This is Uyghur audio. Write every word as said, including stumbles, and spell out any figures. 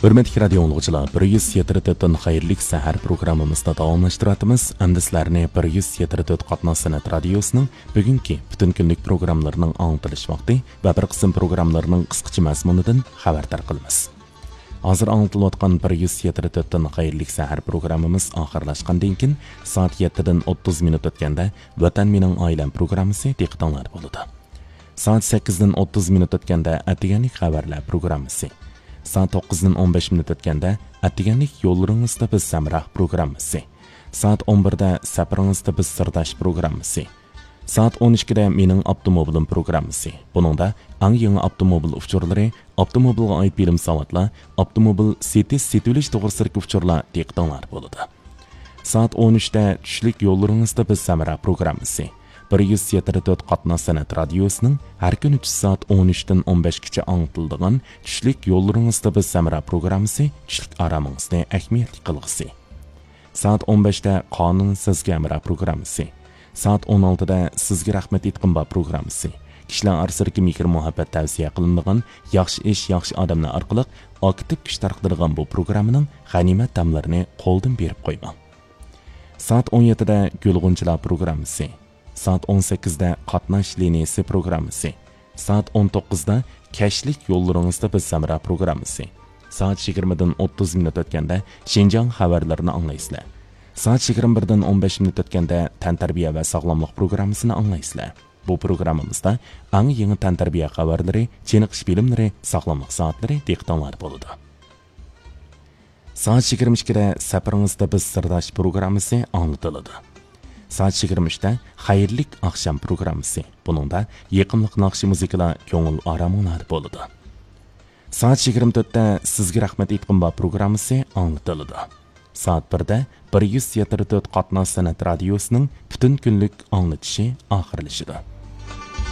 ھۆرمەتلىك رادىيو ئاڭلىغۇچىلار، بىر يۈز يەتتە تۆتتىن خەيرلىك سەھەر پروگراممىمىزنى داۋاملاشتۇرۇۋاتىمىز. ئەمدى سىلەرنى بىر يۈز يەتتە تۆت قاتناش سەنئەت رادىيوسىنىڭ بۈگۈنكى پۈتۈن كۈنلۈك پروگراملىرىنىڭ ئاڭلىتىلىش ۋاقتى ۋە بىر قىسىم پروگراملارنىڭ قىسقىچە مەزمۇنىدىن خەۋەردار قىلىمىز. ھازىر ئاڭلىتىلىۋاتقان بىر يۈز يەتتە تۆتتىن خەيرلىك سەھەر پروگراممىمىز ئاخىرلاشقاندىن كېيىن، سائەت يەتتىدىن ئوتتۇز مىنۇت ئۆتكەندە ۋەتەن مېنىڭ ئائىلەم پروگراممىسى دىققىتىڭلاردا بولىدۇ. سائەت سەككىزدىن ئوتتۇز مىنۇت ئۆتكەندە ئەتىگەنلىك خەۋەرلەر پروگراممىسى، سائەت توققۇزدىن ئون بەش مىنۇت ئۆتكەندە ئەتىگەنلىك يوللىرىڭىزدا بىز ھەمراھ پروگراممىسى، سائەت ئون بىردە سەپىرىڭىزدە بىز سىرداش پروگراممىسى، سائەت ئون ئىككىدە مېنىڭ ئاپتوموبىلىم پروگراممىسى. بۇنىڭدا ئەڭ يېڭى ئاپتوموبىل ئۇچۇرلىرى، ئاپتوموبىلغا ئائىت بىلىم ساۋاتلار، ئاپتوموبىل سېتىش، سېتىۋېلىش توغرىسىدىكى ئۇچۇرلار دىققىتىڭلاردا بولىدۇ. سائەت ئون ئۈچتە چۈشلۈك يوللىرىڭىزدا بىز ھەمراھ پروگراممىسى. بىر يۈز يەتتە تۆت قاتناش سەنئەت رادىيوسىنىڭ ھەر كۈنى چۈش سائەت ئون ئۈچتىن ئون بەشكىچە ئاڭلىتىلىدىغان چۈشلۈك يوللىرىڭىزدا بىز ھەمراھ پروگراممىسى چۈشلۈك ئارامىڭىزنى ئەھمىيەتلىك قىلغۇسى. سائەت ئون بەشتە قانۇن سىزگە ھەمراھ پروگراممىسى. سائەت ئون ئالتىدە سىزگە رەھمەت ئېيتقۇم بار پروگراممىسى. كىشىلەر ئارىسىدىكى مېھىر-مۇھەببەت تەۋسىيە قىلىنىدىغان ياخشى ئىش، ياخشى ئادەملەر ئارقىلىق ئاكتىپ كۈچ تارقىتىدىغان بۇ پروگراممىنىڭ غەنىيمەت دەملىرىنى قولدىن بېرىپ قويماڭ. سائەت ئون يەتتىدە گۈل-غۇنچىلار پروگراممىسى. سائەت ئون سەككىزدە قاتناش لىنىيىسى پروگراممىسى. سائەت ئون توققۇزدا كەچلىك يوللىرىڭىزدا بىز ھەمراھ پروگراممىسى. سائەت يىگىرمىدىن ئوتتۇز مىنۇت ئۆتكەندە شىنجاڭ خەۋەرلىرىنى ئاڭلايسىلەر. سائەت يىگىرمە بىردىن ئون بەش مىنۇت ئۆتكەندە تەنتەربىيە ۋە ساغلاملىق پروگراممىسىنى ئاڭلايسىلەر. بۇ پروگراممىمىزدا ئەڭ يېڭى تەنتەربىيە خەۋەرلىرى، چېنىقىش بىلىملىرى، ساغلاملىق سائەتلىرى دىققىتىڭلاردا بولىدۇ. سائەت يىگىرمە ئىككىدە سەپىرىڭىزدە بىز سىرداش پروگراممىسى ئاڭلىتىلىدۇ. سائەت يىگىرمە ئۈچتە خەيرلىك ئاخشام پروگراممىسى. بۇنىڭدا يېقىملىق ناخشا مۇزىكىلار كۆڭۈل ئارامىڭلاردا بولىدۇ. سائەت يىگىرمە تۆتتە سىزگە رەھمەت ئېيتقۇم بار پروگراممىسى ئاڭلىتىلىدۇ. سائەت بىردە بىر يۈز يەتتە تۆت قاتناش سەنئەت رادىيوسىنىڭ پۈتۈن كۈنلۈك ئاڭلىتىشى ئاخىرلىشىدۇ.